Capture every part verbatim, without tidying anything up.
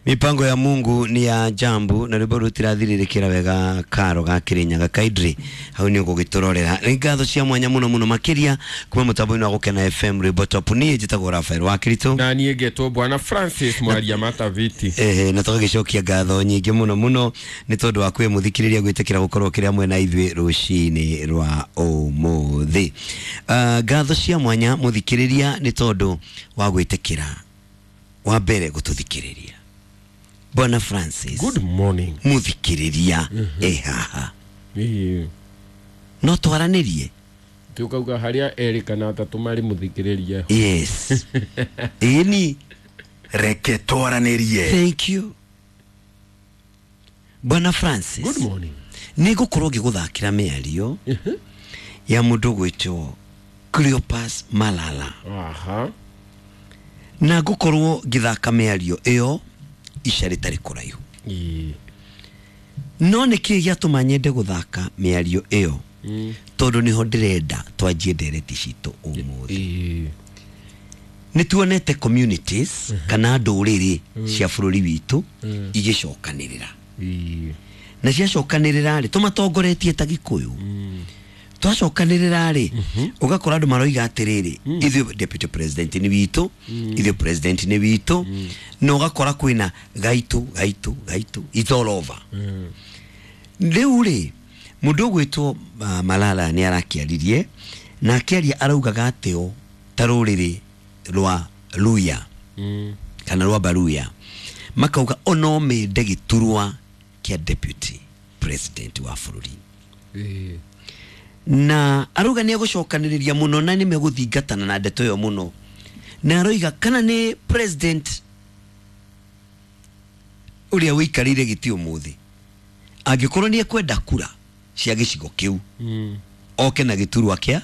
Mipango ya Mungu ni ya jambu na rwimbo rutirathirĩrĩkĩra wega karo ga Kirinyaga kaidri hau nĩ ũgũgĩtũrorera. Nĩ ngatho cia mwanya mũno mũno makĩria kuma mũtambo-inĩ wa Gũkena F M rwimbo top. Niĩ njĩtagwo Rafael wa Kirito na niĩ ngetwo Bwana Francis Mwaria Mataviti. Ehe, na tũgagĩcokia ngatho nyingĩ mũno mũno nĩ tondũ wa kwĩ mũthikĩrĩria gwĩtĩkĩra gũkorwo kĩrĩa mwena ithuĩ rũcinĩ rwa ũmũthĩ. Uh, ngatho cia mwanya mũthikĩrĩria nĩ tondũ wa gwĩtĩkĩra wa mbere gũtũthikĩrĩria. Bwana Francis, good morning. Muthikiriria mm -hmm. Ehaha mm. No twaranirie tukauga haria eri kana atatu mari muthikiriria. Yes. Eni reke twaranirie. Thank you Bwana Francis, good morning. Nigukorwo ngiguthakira miario mm -hmm. ya mundu gwitwo Cleopas Malala. Aha. Na ngukorwo ngithaka miario iyo ica rĩtarĩ kũraihu. No nĩkĩ gĩatũma nyende gũthaka mĩario ĩyo? Mm. Tondũ nĩho ndĩrenda twanjie ndereti citũ ũmũthĩ. Nĩ tuonete communities mm -hmm. kana ndũrĩrĩ mm. cia bũrũri witũ mm. igĩcokanĩrĩra. Na ciacokanĩrĩra rĩ, tũmatongoretie ta Gĩkũyũ. Mm. Twacokanĩrĩra rĩ, ũgakora andũ maroiga atĩrĩrĩ, ithuĩ deputy president nĩ witũ, ithuĩ president nĩ witũ, na ũgakora kwĩna gaitũ gaitũ gaitũ, it's all over. Rĩu rĩ, mũndũ ũgwĩtwo uh, Malala nĩ arakĩaririe, na akĩaria araugaga atĩ o ta rũrĩrĩ rwa Luya kana rwa Baruya makauga ono mende gĩturwa kĩa deputy president wa bũrũri. Na aruga nĩ egũcokanĩrĩria mũno na nĩ megũthingatana na ndeto ĩyo mũno, na aroiga kana nĩ president ũrĩa ũikarĩire gĩtĩ ũmũthĩ angĩkorwo nĩ ekwenda kura cia gĩcigo kĩu mm. oke na gĩturwa kĩa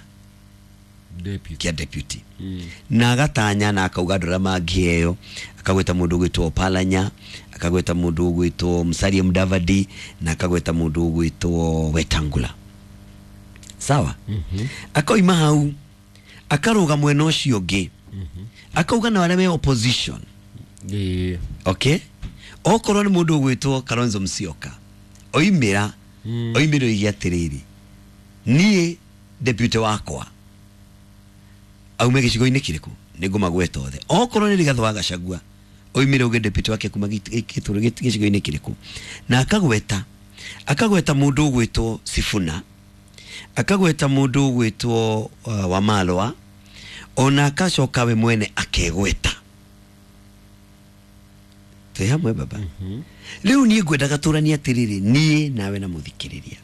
deputy, kĩa deputy. Mm. Na agatanya na akauga andũ arĩa mangĩheo, akagweta mũndũ ũgwĩtwo Palanya, akagweta mũndũ ũgwĩtwo Musalia Mudavadi, na akagweta mũndũ ũgwĩtwo Wetangula. Sawa. Mm -hmm. Akoima hau akaruga mwena ũcio ũngĩ. Mm -hmm. Akauga na arĩa me opposition. Yeah. Okay. Okorwo nĩ mũndũ ũgwĩtwo Kalonzo Musyoka oimĩra mm. oimĩra oige atĩrĩrĩ, niĩ deputy wakwa aume gĩcigo-inĩ kĩrĩkũ nĩngũmagweta othe. Okorwo nĩ Rigathĩ wa Gachagua oimĩra uge deputy wake kuma gĩcigo-inĩ kĩrĩkũ, na akagweta akagweta mũndũ ũgwĩtwo Sifuna, akagweta mũndũ ũgwĩtwo uh, Wamalwa, ona akacoka we mwene akegweta. Twĩ hamwe baba. Mm-hmm. Rĩu niĩ ngwendaga tũranie atĩrĩrĩ, niĩ nawe na mũthikĩrĩria,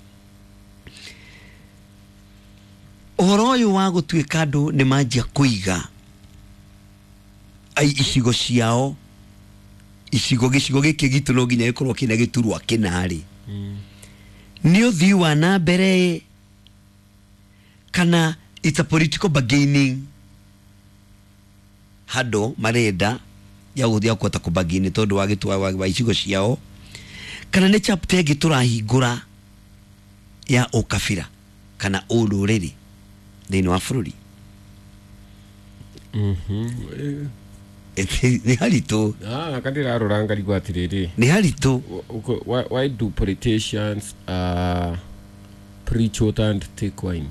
ũhoro ũyũ wa gũtuĩka andũ nĩ manjia kũiga ai icigo ciao, icigo gĩcigo gĩkĩ gitũ no nginya gĩkorwo kĩna gĩturwa kĩna-rĩ, mm. nĩ ũthii wa na mbere kana it's a political bargaining handũ marenda ya gũthiĩ kũhota kũbagini tondũ wa gĩtua wa icigo ciao, kana nĩ chapter ĩngĩ tũrahingũra ya ũkabira kana ũrũrĩrĩ thĩinĩ wa bũrũri. Mhm. Nĩ haritũ. Ah, kandirarora ngarigwo atĩrĩrĩ, nĩ haritũ. Why, why do politicians uh, preach water and take wine?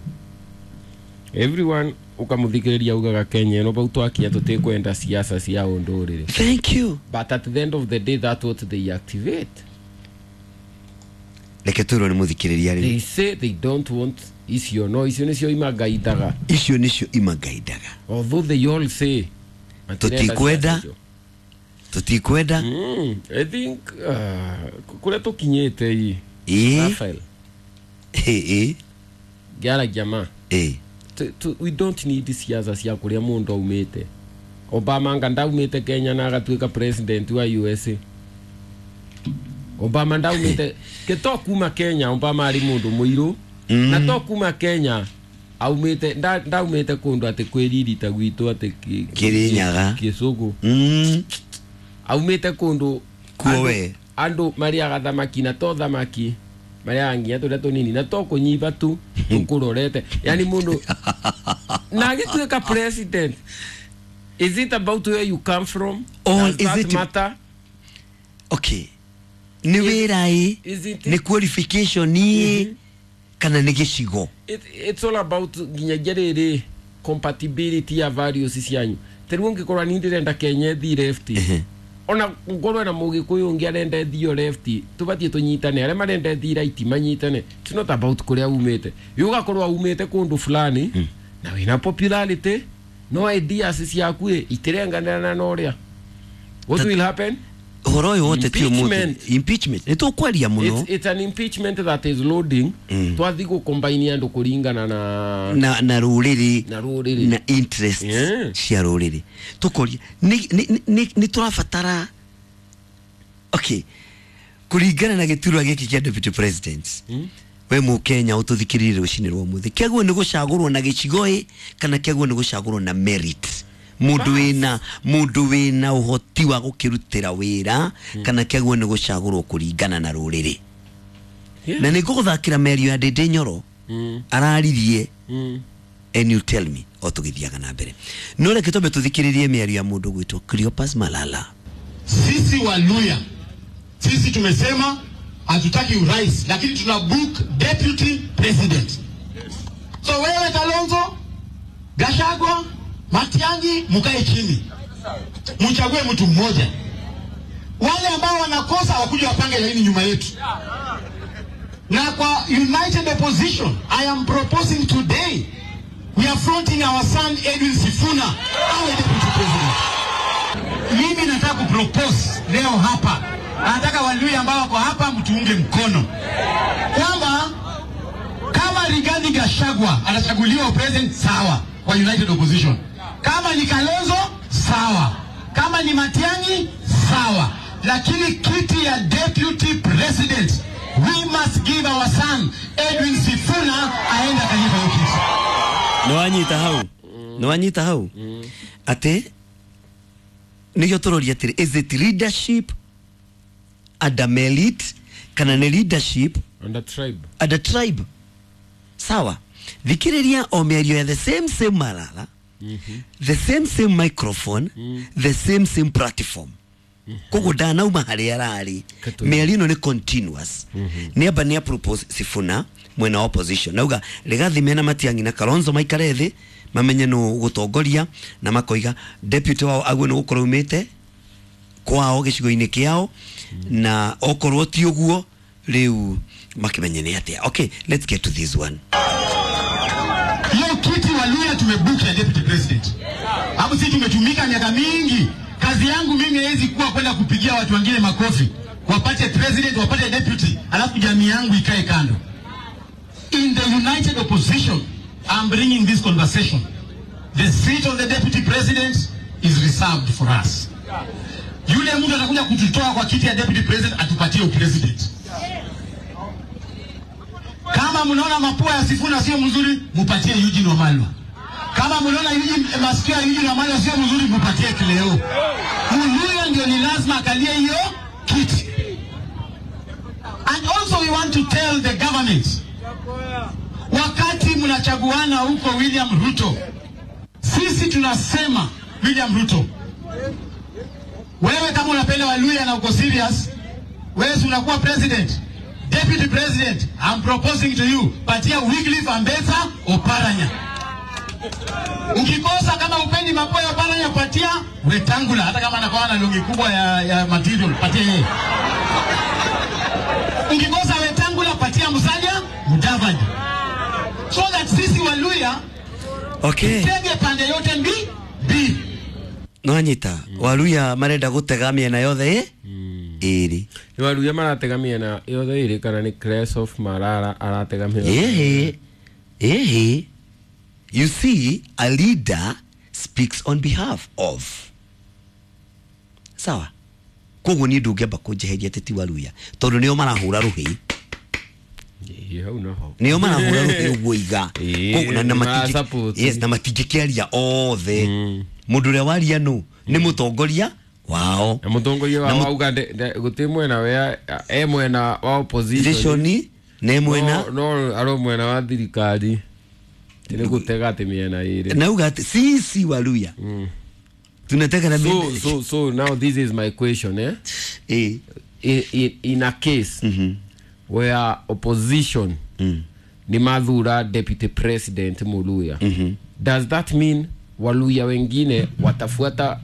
Everyone ukamuthikiriria ugaga Kenya no bau twakinya tutikwenda siasa cia undurire. Thank you. But at the end of the day that's what they activate. Reke twĩrwo nĩ mũthikĩrĩria rĩu. They say they don't want icio, no icio nĩcio imagaithaga. Icio nĩcio imagaithaga. Although they all say tutikwenda tutikwenda. Mm, I think uh, kuria tukinyite i Rafael eh eh ngĩaragia ma eh we don't need siasa cia kuria mundu aumite. Obama anga ndaumite Kenya na agatuika president wa U S A. Obama ndaumite ke to kuma Kenya, Obama ari mundu muiru mm. na to kuma Kenya aumite ndaumite kundu ati kwiririta gwitu ati Kirinyaga Kisugu mm. aumite kundu kuowe andu mariaga thamaki na to thamaki mariaga nginya turia tunini na to kunyiba tu tukurorete, yani mundu na agituika president. Is it about where you come from? Or Does is that it matter? Okay, nĩ wĩra ĩ, nĩ qualification ĩ, kana nĩ gĩcigo? It's all about nginyagia rĩrĩ compatibility ya values cianyu. Tarĩu ũngĩkorwo niĩ ndĩrenda Kenya ĩthiĩ left, ona ngorwo na mũgĩkũyũ ũngĩ arenda ĩthiĩ left, tũbatiĩ tũnyitane, arĩa marenda ĩthiĩ right manyitane. It's not about kũrĩa umĩte. Ũgakorwo umĩte kũndũ fulani na wĩna popularity, no ideas ciaku ĩ itirenganĩra na ũrĩa. What will happen? Ũhoro ũyũ wothe ti ũmũthĩ. Impeachment nĩ tũkwaria mũno. It's an impeachment that is loading. Twathiĩ gũcombine andũ kũringana na na na rũrĩrĩ, na rũrĩrĩ, na interests cia rũrĩrĩ. Tũkoria nĩ tũrabatara, okay, kũringana na gĩturwa gĩkĩ kĩa deputy president, we mũkenya ũtũthikĩrĩrie rũcinĩ rwa ũmũthĩ, kĩagwo nĩ gũcagũrwo na gĩcigo ĩ, kana kĩagwo nĩ gũcagũrwo na merit? Mundu wina mundu wina uhoti wa gukirutira wira, kana kĩagwo nĩ gũcagũrwo kũringana na rũrĩrĩ? Na nĩ ngũgũthakĩra mĩario ya Ndĩndĩ Nyoro araririe, and you tell me o tũgĩthiaga na mbere. No reke twambe tũthikĩrĩrie mĩario ya mũndũ gwĩtwo Cleopas Malala. Sisi Waluya, sisi tumesema hatutaki urais, lakini tuna book deputy president. So wewe Kalonzo, Gachagua, Matiang'i, mkae chini, mchague mtu mmoja. Wale ambao wanakosa wakuja wapange laini nyuma yetu. Na kwa United Opposition, I am proposing today, we are fronting our son Edwin Sifuna awe deputy president. Mimi nataka kupropose leo hapa, nataka Waluya ambao wako hapa mtuunge mkono kwamba kama Rigathi Gachagua anachaguliwa president, sawa, kwa United Opposition. Kama ni Kalonzo, sawa. Kama ni Matiang'i, sawa. Lakini kiti ya deputy president, we must give our son Edwin Sifuna aenda kalifa hiyo kiti. Nwanyita hau. Nwanyita hau. Ate nikyo turoria atiri, is it leadership and a merit, kana ni leadership and a tribe? And a tribe. Sawa. Thikĩrĩria o mĩario ya the same same Malala, mm -hmm. the same same microphone, mm. the same same platform. Koguo ndanauma harĩa ararĩ. Mĩario ĩno nĩ continuous. Mm -hmm. Nĩ amba nĩ propose Sifuna mwena wa opposition. Nauga Rigathi mena Matiang'i na Kalonzo maikare thĩ mamenye nũ gũtongoria, na makoiga deputy wao agwe nĩ gũkorwo umĩte kwao gĩcigo-inĩ kĩao, mm. na okorwo ti ũguo rĩu makimenye nĩ atĩa. Okay, let's get to this one. Hiyo kiti Waluya tumebook ya deputy president. Hapo sisi tumetumika miaka mingi. Kazi yangu mimi haiwezi kuwa kwenda kupigia watu wengine makofi, wapate president, wapate deputy, alafu jamii yangu ikae kando. In the United Opposition, I'm bringing this conversation. The seat of the deputy president is reserved for us. Yule mtu atakuja kututoa kwa kiti ya deputy president atupatie president. Kama mnaona mapua ya Sifuna sio mzuri, mupatie Eugene Wamalwa. Kama mnaona Eugene masikio ya Eugene Wamalwa sio mzuri, mupatie Cleo. Muluya ndio ni lazima akalie hiyo kiti. And also we want to tell the government, wakati mnachaguana huko William Ruto, sisi tunasema William Ruto, wewe kama unapenda Waluya na uko serious, wewe unakuwa president. Deputy President, I'm proposing to you, patia Wycliffe Ambetsa Oparanya. Ukikosa kama upendi mapoya Oparanya, patia Wetangula, hata kama anakuwa na longi kubwa ya, ya material, patia yeye. Ukikosa Wetangula, patia Musalia Mudavadi. So that sisi Waluya, okay, tutege pande yote mbi, bi. Nwanyita, Waluya marenda gutega miena yothe eh? Iri. Ni Waluya maratega miena yothe iri, kana ni Cleopas Malala aratega miena? Eh, eh. You see, a leader speaks on behalf of. Sawa. Koguo ni ndũngĩamba kũnjeheria atĩ ti Waluya, tondũ nĩo marahũra rũhĩ. Nĩo marahũra rũhĩ ũguo iga. Koguo na matingĩ, yes, na matingĩkĩaria othe. Mũndũ ũrĩa waria nũ nĩ mũtongoria wao. Na mũtongoria wao auga gũtirĩ mwena we e mwena wa opposition ne mwena no aro mwena wa thirikari. Nĩ gũtega atĩ mĩena ĩrĩ. Na uga atĩ sisi Waluya tunataka na so, so, so now this is my question, eh? Ĩĩ. in, in, in a case mm -hmm. where opposition mm. ni mathura deputy president Muluya, mm -hmm. does that mean Waluya wengine watafuata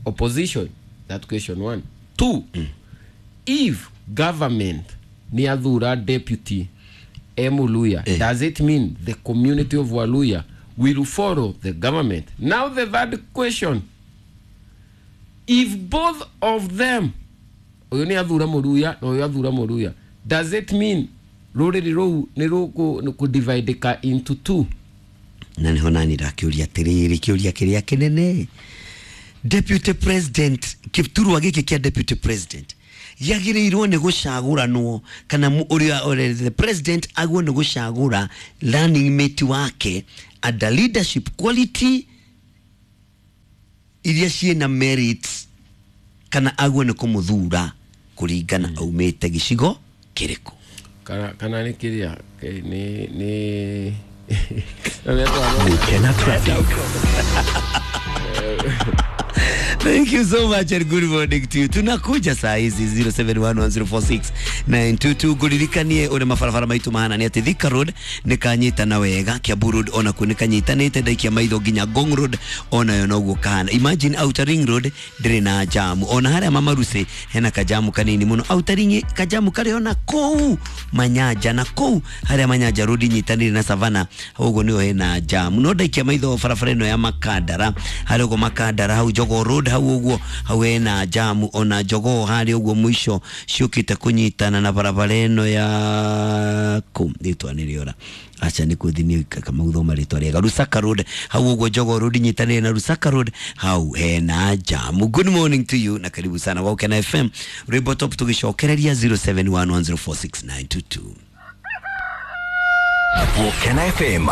opposition? That question one. Two, mm. if government ni athura deputy e Muluya, eh. does it mean the community of Waluya will follow the government? Now the third question, if both of them, uyu ni athura Muruya na uyu athura Muruya, does it mean ruriri ruu ni ruku into two? Na niho nani ndakiuria atiriri, kiuria kiria kinene, deputy president kiturwa giki kia deputy president yagiriirwo ni gucaguranwo kana uria the president agwo ni gucagura running mate wake and leadership quality iria ciina merits kana agwo ni kumuthura kuringana mm. aumite gicigo kiriku kana kana ni kiria ni ni Gukena traffic. Thank you so much and good morning to you. Tunakuja saa hizi zero seven one one zero four six nine two two. Nguririkanie uria mabarabara maitu mahana ni ati Thika Road ni kanyitana wega, Kiambu Road ona kuo ni kanyitanite, ndaikia maitho nginya Ngong Road onayo noguo kahana. Imagine Outer Ring Road ndiri na jamu, ona haria Mamarusi hena kajamu kanini muno. Outer Ring kajamu kari ona kuu Manyanja na kuu haria Manyanja Road nyitanire na Savana uguo niho hena jamu. No ndaikia maitho barabara ino ya Makandara haria uguo Makandara hau Jogoo Road hau uguo hau hena jamu, ona Jogoo haria uguo mwisho ciukite kunyitana na barabara ino ya ku ritwa niriora acha ni kuthini kama uthoma ritwa riega Lusaka Road hau uguo Jogoo Road nyitanire na Lusaka Road hau hena jamu. Good morning to you na karibu sana Waukena F M Rwimbo Top tugicokereria zero seven one one zero four six nine two two. Waukena F M.